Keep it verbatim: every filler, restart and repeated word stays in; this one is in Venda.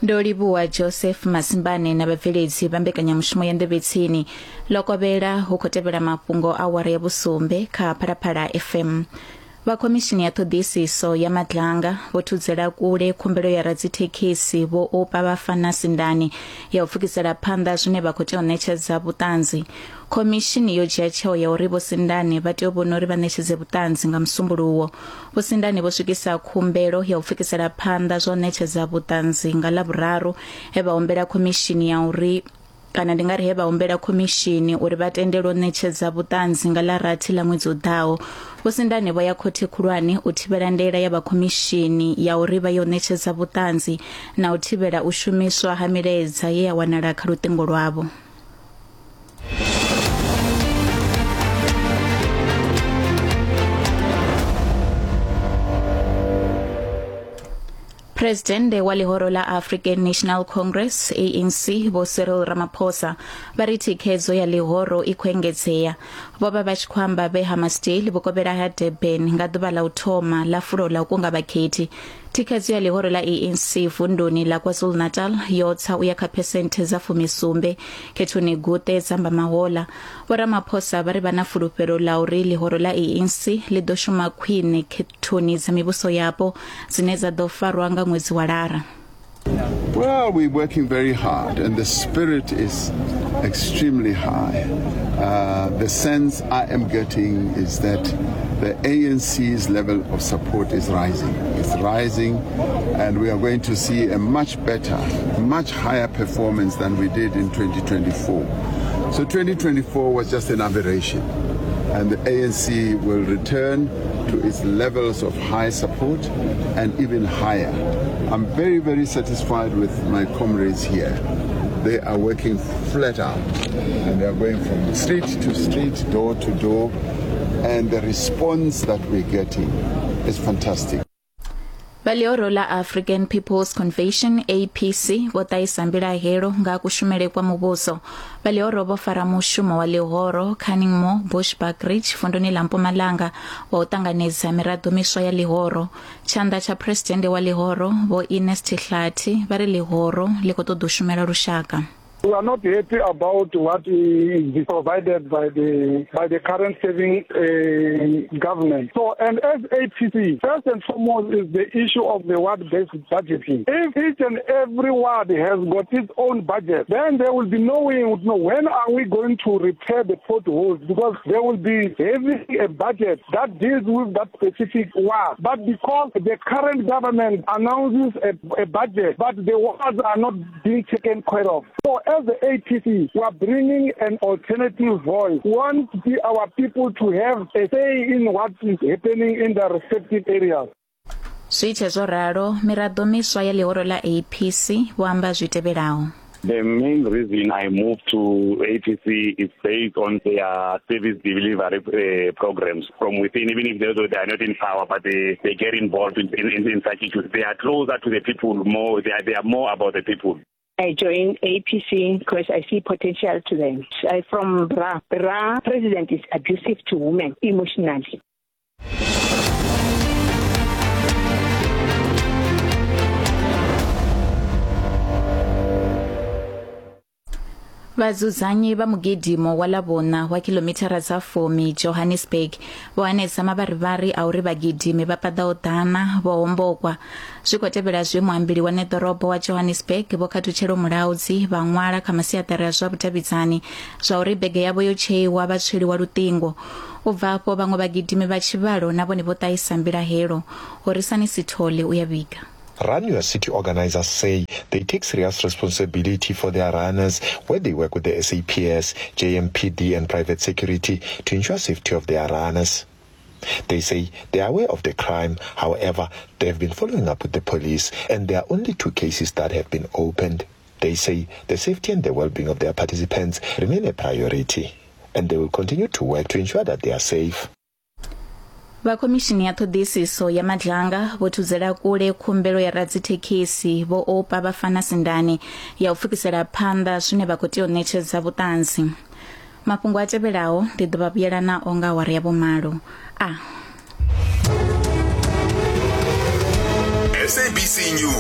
Ndo livhuwa Joseph Masimbane na vhabveledzi vha mbekanyamushumo ya Nḓevhetsini. Lokovhela hu khou tevhela mafhungo a awara ya vhusumbe kha Phalaphala F M. Vha khomishini ya ṱhoḓisiso ya Madlanga vho thudzela kule khumbelo ya radzithekhisi vho Oupa Bafana Sindane ya u pfukisela phanḓa zwine vha khou tea u ṋetshedza vhuṱanzi. Khomishini yo dzhia tsheo ya uri vho Sindane vha tea u vhona uri vha ṋetshedze vhuṱanzi nga Musumbuluwo. Vho Sindane vho swikisa khumbelo ya u pfukisela phanḓa zwa u ṋetshedza vhuṱanzi nga Ḽavhuraru, he vha humbela khomishini ya uri kana ndi nga ri he vha humbela khomishini uri vha tendelwe u ṋetshedza vhuṱanzi nga ḽa rathi ḽa ṅwedzi u ḓaho. Vho Sindane vho ya khothe khulwane u thivhela ndaela ya vha khomishini ya uri vha yo ṋetshedza vhuṱanzi na u thivhela u shumiswa ha milaedza ye ya wanala kha luṱingo lwavho. Presidente wa ḽihoro ḽa African National Congress A N C Vho Cyril Ramaphosa vha ri thikhedzo ya ḽihoro i khou engedzea. Vho vha vha tshi khou amba vhe Hammarsdale vhukovhela ha Durban nga ḓuvha ḽa u thoma ḽa fulo ḽa u kunga vhakhethi. Thikhedzo ya ḽihoro ḽa A N C vunduni ḽa KwaZulu-Natal yo tsa u ya kha phesenthe dza fumisumbe khethoni guṱe dza Mbamahola. Vho Ramaphosa vha ri vha na fulufhelo ḽa uri ḽihoro ḽa A N C ḽi ḓo shuma khwine khethoni dza mivhuso yapo dzine dza ḓo farwa nga ṅwedzi wa Lara. Well, we're working very hard and the spirit is extremely high. Uh, the sense I am getting is that the A N C's level of support is rising. It's rising, and we are going to see a much better, much higher performance than we did in twenty twenty-four. So twenty twenty-four was just an aberration, and the A N C will return to its levels of high support and even higher. I'm very, very satisfied with my comrades here. They are working flat out, and they are going from street to street, door to door, and the response that we're getting is fantastic. Vha ḽihoro ḽa African People's Convention A P C vho ṱahisa mbilahelo nga kushumele kwa muvhuso. Vha ḽihoro vho fara mushumo wa ḽihoro Canningmore Bushbuckridge vunduni ḽa Mpumalanga wa u ṱanganedza miraḓo miswa ya ḽihoro. Tshanḓa tsha presidennde wa ḽihoro Vho Ernest Hlathi vha ri ḽihoro ḽi khou ṱoḓa u shumela lushaka. We are not happy about what is provided by the by the current serving uh, government. So, and as A P C, first and foremost is the issue of the ward-based budgeting. If each and every ward has got its own budget, then there will be knowing, know, when are we going to repair the potholes, because there will be having a budget that deals with that specific ward. But because the current government announces a, a budget, but the wards are not being taken care of. So, as the A P C, we are bringing an alternative voice. We want our people to have a say in what is happening in their respective areas. Zwi tshe zwo ralo, miraḓo miswa ya ḽihoro ḽa A P C vho amba zwi tevhelaho. The main reason I moved to A P C is based on their service delivery uh, programs from within, even if they, they are not in power, but they, they get involved in, in, in such issues. They are closer to the people more, they are, they are more about the people. I joined A P C because I see potential to them. I from B R A. B R A president is abusive to women emotionally. Vhadzudzanyi vha mugidimo wa ḽavhuṋa wa kilomithara dza fumi Johannesburg vho hanedza mavharivhari a uri vhagidimi vha paḓaho ḓana vho hombokwa. Zwi khou tevhela zwe muambeli wa neḓorobo wa Johannesburg Vho Khathutshelo Mulaudzi vha ṅwala kha masiaṱari a zwa vhudavhidzani zwa uri bege yavho yo tsheiwa vha tsweliwa luṱingo. U bva afho vhaṅwe vhagidimi vha tshivhalo na vhone vho ṱahisa mbilahelo. Horisani Sithole u ya vhiga. Run Your City organizers say they take serious responsibility for their runners, where they work with the S A P S, J M P D and private security to ensure safety of their runners. They say they are aware of the crime. However, they have been following up with the police and there are only two cases that have been opened. They say the safety and the well-being of their participants remain a priority and they will continue to work to ensure that they are safe. Vha khomishini ya ṱhoḓisiso ya Madlanga vho thudzela kule khumbelo ya radzithekhisi Vho Oupa Bafana Sindane ya u pfukisela phanḓa zwine vha khou tea u ṋetshedza vhuṱanzi. Mafhungo a tevhelaho ndi ḓo vha vhuyela nao nga awara ya vhumalo. A S A B C News.